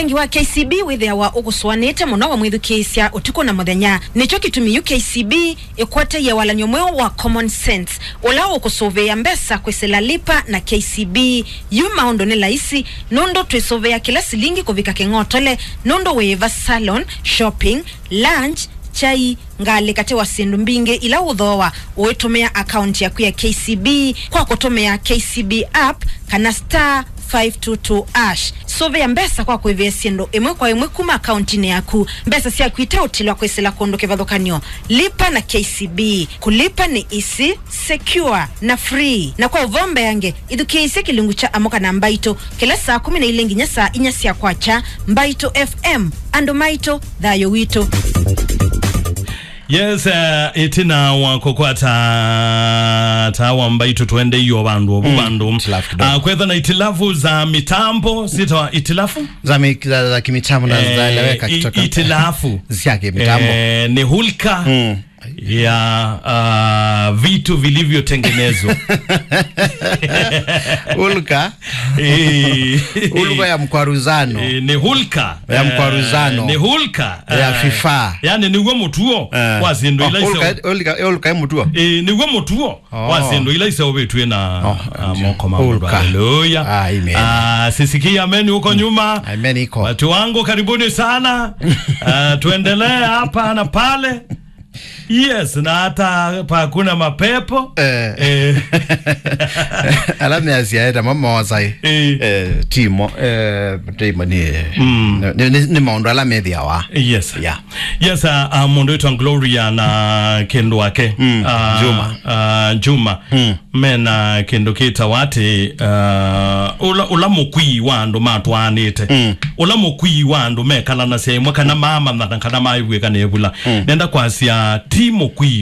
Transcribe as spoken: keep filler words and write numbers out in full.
Vengi wa K C B wĩthĩawa ũkũsũanĩte mũno wamwĩthukĩĩsya ũtukũ na mũthenya. Nĩkyo kĩtumi yu K C B ĩkũeteie walany'o mweũ wa Common Sense, ũla ũkũsũvĩĩa mbesa kwĩsĩla Lipa na K C B. Yu maũndũ nĩ laisi, nũndũ twĩsũvĩa kĩla silingi kũvika kĩng'otole, nũndũ wĩĩva salon, shopping, lunch, kyai, ngalĩ katĩ wa syĩndũ mbingĩ ila ũthooa ũitũmĩa akaunti yaku ya K C B kwa kũtũmĩa K C B app kana star five two two hash. Sũvĩa mbesa kwa kũĩvĩa syĩndũ ĩmwe kwa ĩmwe kuma akauntinĩ yaku. Mbesa syaku iteũtilwa kwĩsĩla kũndũ kĩvathũkany'o. Lipa na K C B. Kũlipa nĩ easy, secure, na free. Na kwa ũvoo mbeange, ithukĩĩsye kĩlungu kya Amũka na Mbaitũ kĩla saa kũmi na ilĩ nginya saa inya sya kwakya. Mbaitũ F M, andũ maitũ, thayũ witũ. Yes, uh, ĩtina wa kũkwata taa wa Mbaitũ, twendeio vandũ ovu, mm, vandũ. Itilafu kidogo. Ah, kwetha na itilafu za mitambo, sitawa itilafu? Za mi-, za, za kimitambo na, eh, zaeleweka i-, kutoka itilafu. Za kimitambo. Eh, ni hulka, mm, ya, ah, vitu vilivyotengenezwa. Hulka. Eh. Hulka ya mkwaruzano. Eh, ni hulka. Ya mkwaruzano. Eh, ni hulka. Ya, eh, vifaa. Yani nĩw'o mũtuo, eh, wa syĩndũ ila, oh, hulka, iseũ-, hulka, hulka ya mũtuo. Eh, nĩw'o mũtuo, oh, wa syĩndũ ila iseũvĩtw'e na, oh, ah, moko ma mũndũ. Hulka. Haleluya. Ah, amen. Ah, sisikie amen huko nyuma. Amen iko. Watu wangu, karibuni sana. Ah, tuendelee hapa na pale. Yes, na hata pa kuna mapepo. Eh. Eh. Ala measya eta mama wasai. Eh. Eh, timo, eh, timo ni, mm, ni, ni, ni maũndũ ala methĩawa. Yes. Yeah. Yes, uh, uh, mũndũ wĩtwa Gloria na kĩndũ wake. Mm, uh, Juma. Uh, Juma. Mm. Mena kĩndũ kĩtawa atĩ, uh, ũla, ũla mũkwii wa andũ matwaanĩte. Mm. Ũla mũkwii wa andũ mekalanasya ĩmwe kana maamanyana kana maĩvw'ĩka nĩ ĩvula. Mm. Nenda kwasya ti mũkwii